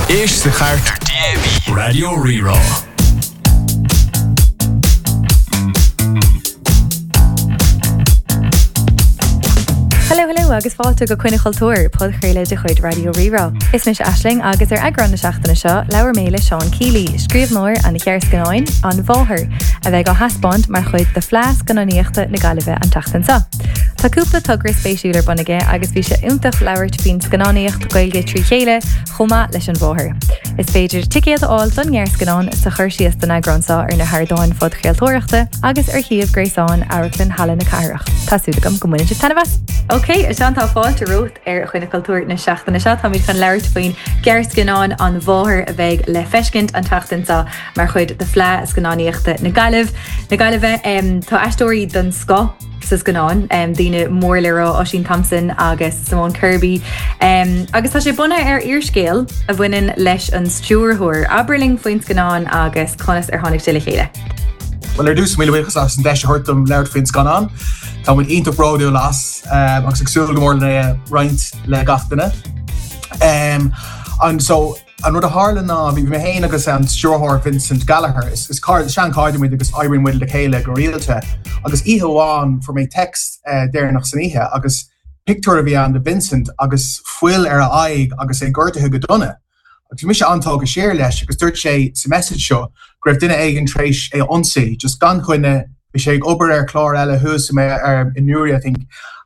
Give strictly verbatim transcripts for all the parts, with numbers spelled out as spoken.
Éist sa chairt ar DAB Raidió Rí-Rá. Hello hello agus fáilte go Coinne Chultúir podchraoladh de chuid Raidió Rí-Rá. Is mise Aisling agus ar eagrán na seachtaine seo labhair mé le Seán Keeley, scríbhneoir an ghearrscannáin An Mháthair, a bheidh á thaispeáint mar chuid de Fleadh Scannánaíochta na Gaillimhe an tseachtain seo. Tá cúpla togra spéisiúil ar bun aige agus bhí sé iontach labhairt faoin scannánaíocht Gaeilge trí chéile chomh maith leis an mháthair. Is féidir ticéad a fháil don ghearrscannán sa chur síos don eagrán seo ar na hardáin phodchraoltóireachta agus ar shuíomh gréasáin Amharclann Halla na Cathrach. Tá súil agam go mbaineann sibh taitneamh as. Ok, a Seán tá fáilte romhat ar Choinne Chultúir na seachtaine seo táimid chun labhairt faoin ghearrscannán An Mháthair a bheidh le feiscint an tseachtain seo mar chuid de Fleadh Scannánaíochta na Gaillimh. Na Gaillimhe um, tá aisteoirí den scoth sa scannán um, daoine mór le rá Oisín Thompson agus Simone Kirby. Um, agus tá sé bunaithe ar fhíorscéal a bhaineann leis an stiúrthóir. Abair linn faoin scannán agus conas ar tháinig sé le chéile. Well ar dtús míle buíochas as an deis a thabhairt dom labhairt faoin scannán. Tá muid iontach bródúil as um, agus ag súil go mór le roinnt le gach duine. Um, an so an rud a tharla ná bhí mé féin agus an stiúrthóir Vincent Gallagher is, is car seanchairde muid agus oibríonn muid le chéile go rialta agus oíche amháin fuair mé text uh, deireanach san oíche agus pictiúr a bhí ann de Vincent agus fuil ar a aghaidh agus é gortaithe go dona. Agus bhí mise an-tógtha siar leis agus dúirt sé sa message seo go raibh duine éigin tar éis é a ionsaí, just gan choinne bhí sé ag obair ar chlár eile thuas mé ar in Newry I think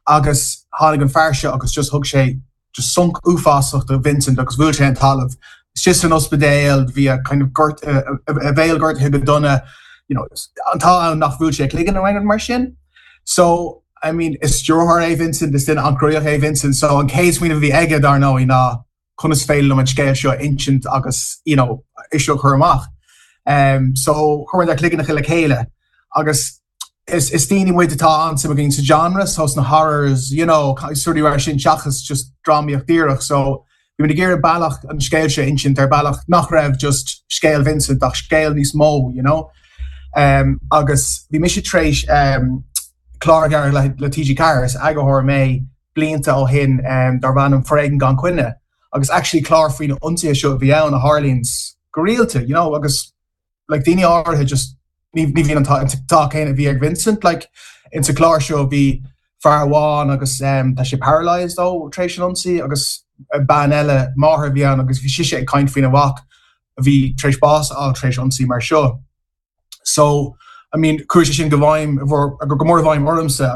agus tháinig an fear seo agus just thug sé just sonc uafásach do Vincent agus bhuail sé an talamh. Just san ospidéal bhí a kind of gort a bhéal gortaithe go dona you know, an t-ádh ann nach bhfuair sé cloigeann nó mar sin. So I mean is stiúrthóir é Vincent is duine an-chruthaitheach é Vincent, so an chéad smaoineamh a bhí aige dar ndóigh ná conas féidir liom an scéal seo insint agus you know, é seo chur amach. Um, so chuir ár gcloigne le chéile agus is, is daoine muid atá an-suim againn sa genre so sna horrors you know, rudaí mar sin seachas just drámaíocht díreach so bhí muid ag iarraidh bealach an scéal seo insint ar bealach nach raibh just scéal Vincent ach scéal níos mó you know. Um, agus bhí mise tar éis um, clár le, le TG Ceathair eagarthóir mé blianta ó shin um, darb ainm Foréigean gan choinne agus actually clár faoi na hionsaithe seo bhí ann a tharlaíonn go rialta you know, agus like daoine áirithe just ní ní bhíonn an t-ádh céanna a bhí ag Vincent like in sa chlár seo bhí fear amháin agus um, tá sé paralysed ó tar éis an ionsaí agus bean eile máthair bhí ann agus bhí sise ag caint faoina mhac a bhí tar éis bás a fháil tar éis ionsaí mar seo. So I mean chuaigh sé sin go bhfeidhm go mór i bhfeidhm ormsa